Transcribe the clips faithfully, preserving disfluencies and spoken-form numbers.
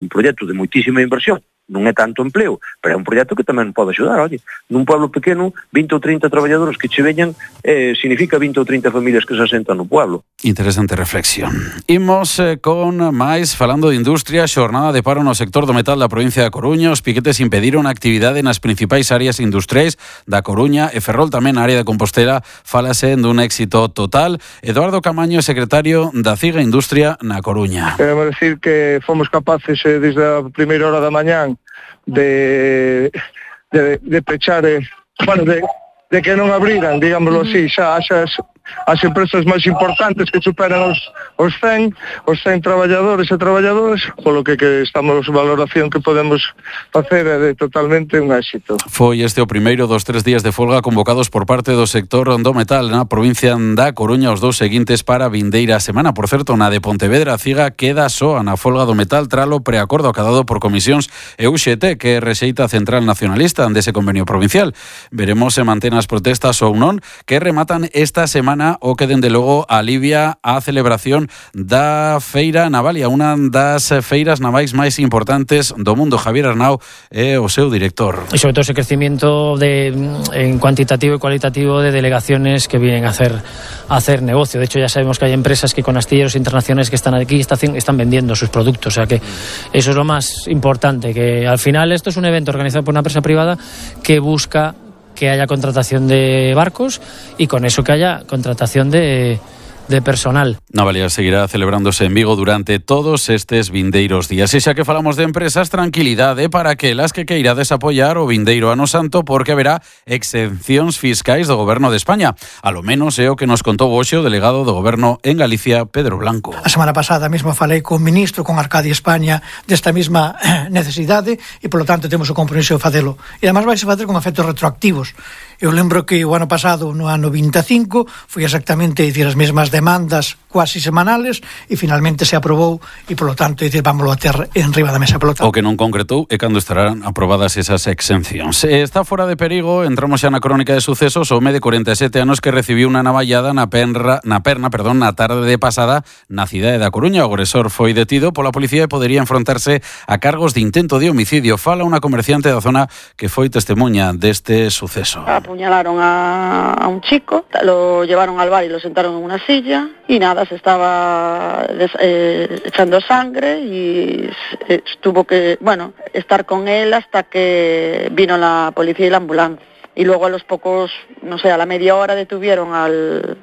un proxecto de moitísima inversión, non é tanto empleo, pero é un proxecto que tamén pode axudar. Oye, nun pueblo pequeno, vinte ou trinta traballadores que che veñan, eh, significa vinte ou trinta familias que se asentan no pueblo. Interesante reflexión. Imos eh, con máis, falando de industria, xornada de paro no sector do metal da provincia da Coruña. Os piquetes impediron a actividade nas principais áreas industriais da Coruña e Ferrol, tamén na área de Compostela, falase dun éxito total. Eduardo Camaño, secretario da CIGA Industria na Coruña. Queremos decir que fomos capaces eh, desde a primeira hora da mañán de, de, de pechar, eh, bueno, de, de que non abriran, digámoslo así, xa as, as empresas máis importantes que superan os, os cen, os cen traballadores e traballadoras, polo que, que estamos valoración que podemos facer é de totalmente un éxito. Foi este o primeiro dos tres días de folga convocados por parte do sector do metal na provincia da Coruña, os dous seguintes para a vindeira semana. Por certo, na de Pontevedra, a CIGA queda soa na folga do metal tralo preacordo acadado por comisións e U X T, que rexeita a Central Nacionalista dese convenio provincial. Veremos se mantén as protestas ou non, que rematan esta semana o que dende logo alivia a celebración da Feira Navalia, unha das feiras navais máis importantes do mundo. Javier Arnau é o seu director. Y sobre todo ese crecimiento de, en cuantitativo y cualitativo de delegaciones que vienen a hacer, a hacer negocio. De hecho, ya sabemos que hay empresas que con astilleros internacionales que están aquí están, están vendiendo sus productos. O sea que eso es lo más importante, que al final esto es un evento organizado por una empresa privada que busca que haya contratación de barcos y con eso que haya contratación de, de personal. Navalia seguirá celebrándose en Vigo durante todos estes vindeiros días. E xa que falamos de empresas, tranquilidade para que las que queirades apoiar o vindeiro ano santo, porque haberá exencións fiscais do Goberno de España. A lo menos é o que nos contou hoxe o delegado do Goberno en Galicia, Pedro Blanco. A semana pasada mesmo falei con o ministro, con Arcadia España, desta mesma necesidade e, polo tanto, temos o compromiso de facelo. E, además, vai se facer con efectos retroactivos. Eu lembro que o ano pasado, no ano vinte e cinco, foi exactamente dicir, as mesmas demandas quasi semanales e finalmente se aprobou e, polo tanto, dicir, vámoslo a ter en riba da mesa. Polo tanto. O que non concretou é cando estarán aprobadas esas exencións. Está fora de perigo, entramos xa na crónica de sucesos, o home de corenta e sete anos que recibiu unha navallada na perna, na perna, perdón, na tarde de pasada na cidade da Coruña. O agresor foi detido pola policía e podería enfrontarse a cargos de intento de homicidio. Fala unha comerciante da zona que foi testemunha deste suceso. Apuñalaron a, a un chico, lo llevaron al bar y lo sentaron en una silla y nada, se estaba des, eh, echando sangre y eh, tuvo que, bueno, estar con él hasta que vino la policía y la ambulancia. Y luego a los pocos, no sé, a la media hora detuvieron al...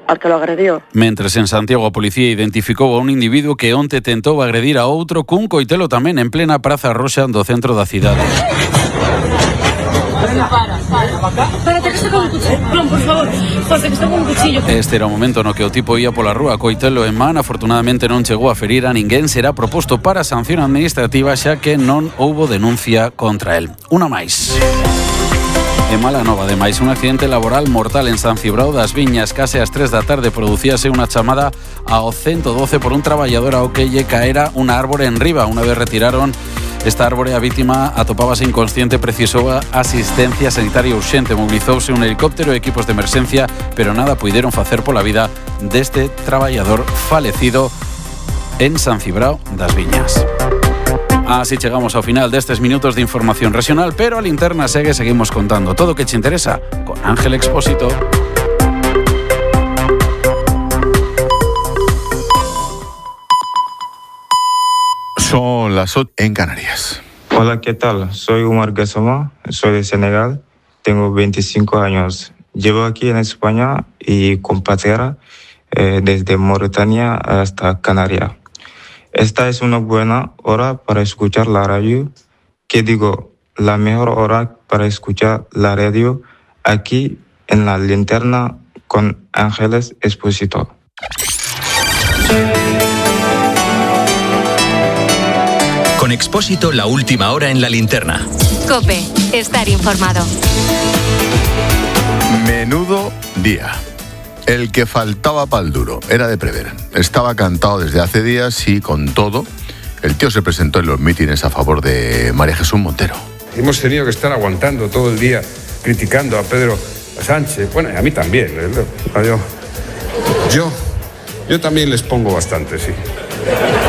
al que lo agredió. Mentres en Santiago a policía identificou a un individuo que onte tentou agredir a outro cun coitelo tamén en plena Praza Roxa do centro da cidade. Para, para. Espérate que está con un cuchillo. Plon, por favor. José, que está con un cuchillo. Este era o momento no que o tipo ia pola rúa coitelo en man. Afortunadamente non chegou a ferir a ninguén. Será proposto para sanción administrativa xa que non houbo denuncia contra el. Unha máis. E mala nova, ademais, un accidente laboral mortal en San Cibrao das Viñas. Case ás tres da tarde producíase unha chamada ao ciento doce por un traballador ao que lle caera unha árbore en riba. Unha vez retiraron esta árbore, a vítima atopábase inconsciente, precisou asistencia sanitaria urxente. Mobilizouse un helicóptero e equipos de emerxencia, pero nada puideron facer pola vida deste traballador falecido en San Cibrao das Viñas. Así chegamos ao final destes minutos de información regional, pero a linterna segue, seguimos contando todo o que te interesa con Ángel Expósito. Son las ocho en Canarias. Hola, ¿qué tal? Soy Umar Gassama, soy de Senegal, tengo veinticinco años. Llevo aquí en España y compatriota eh, desde Mauritania hasta Canarias. Esta es una buena hora para escuchar la radio. ¿Qué digo? La mejor hora para escuchar la radio aquí en la linterna con Ángeles Expósito. Con Expósito, la última hora en la linterna. COPE, estar informado. Menudo día. El que faltaba pa'l duro. Era de prever. Estaba cantado desde hace días y, con todo, el tío se presentó en los mítines a favor de María Jesús Montero. Hemos tenido que estar aguantando todo el día criticando a Pedro Sánchez. Bueno, y a mí también. Yo, yo, yo también les pongo bastante, sí.